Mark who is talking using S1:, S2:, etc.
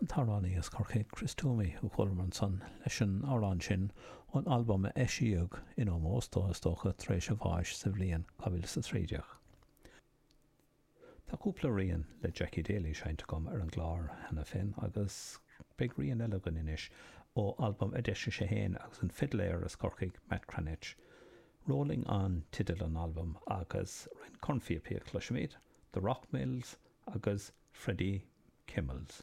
S1: An t-amhránaí as Corcaigh, Chris Twomey, a chualamar ansan leis an amhrán sin ón albam a eisíodh in ómós dó, is dócha, tar éis a bháis sa bhliain 2013. Tá cúpla rian le Jackie Daly seinnte agam ar an gclár cheana féin agus beidh rian eile againn anois ó albam a d'eisigh sé féin agus an fidléir as Corcaigh, Matt Cranitch. Rolling On teideal an albaim agus roinnt cornphíopaí a chloisfimid, The Rockmills agus Freddie Kimmels.